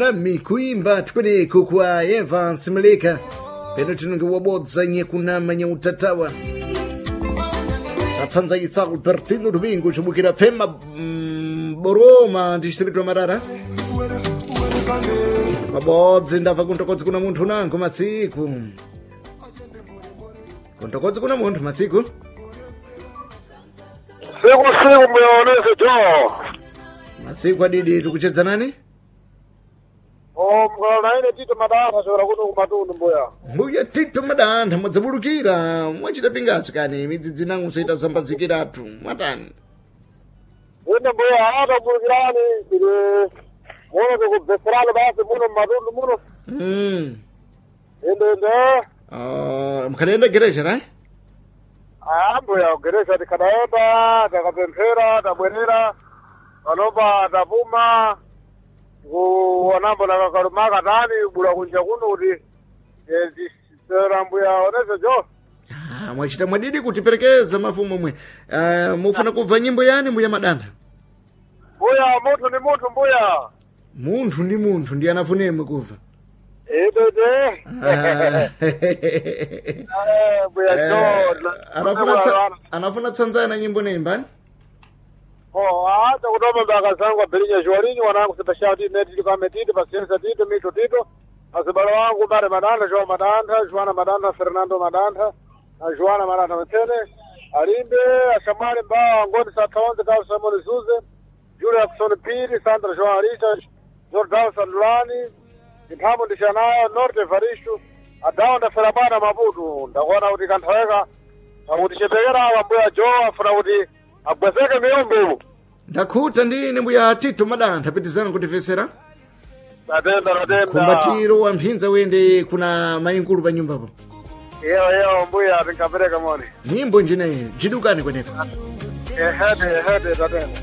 Nami kuimba tikweneko kwa Evans Mleka peno tinonge wabodza nye kunama nye utatawa tatsanza isa Albertino Domingo chibukira pfema Boroma distrito Marara mabodzi ndabva kuntokodzi kuna munthu nango matsiku kuntokodzi kuna munthu matsiku Siku siku muyaonese jo. matsiku adidi tikuchedza nani? O mkala ine Tito Madantha chokera kuno kumatundu mbuya. Mbuya Tito Madantha mwadzabulukira mwachita pingasi kani midzidzi nangu saita zambadzikiratu mwatani. Ine mbuya atabulukirani tili muno tikubveserani basi muno mmatundu muno. Inde inde. Mkhadaenda gereja ra? Ah mbuya gereja tikadaenda takapemphera tabwerera panopa tapuma kuonambo nakakalumaka tani bula kunja kuno kuti tisera mbuya onese jo. Ah, mwachita mwadidi kutiperekeza mafumu omwe. Mufuna kubva nyimbo yani mbuya Madantha? Mbuya munthu ni munthu mbuya. Munthu ndi munthu ndi anafunemwe kubva. Inde inde. Ah. Eh, mbuya jo. Anafuna tsanzana nyimbo neimbani? Oh, hata kutoma mbaka zangu abirinya jwalinyi wanangu Sebastian Tito Netito kame Tito Paciência Tito Mito Tito azibalo wangu Bare Madantha João Madantha Joana Madantha Fernando Madantha na Joana Madantha Mtene Alimbe Ashamari Mbao Angoni Satonze Carlos Simon Zuze Julia Jackson Piri Sandra João Arista Jordão Sandulani Mphambo Ndishanayo Norte Evaristo Adao ndaferabana Maputo ndakuona kuti kanthaweka akuti chepekera awa mbuya Jo afuna kuti agwezeke miyombo Ndakhuta ndine mbuya Tito Madantha pitizana kutifesera. Tatenda, tatenda. Kumbatiro wa mphinza wende kuna mayinkulu pa nyumbapo. Iyo, iyo, mbuya, tinkapereka moni. Nyimbo njineyi jidukani kweneko. Ehede, ehede, tatenda.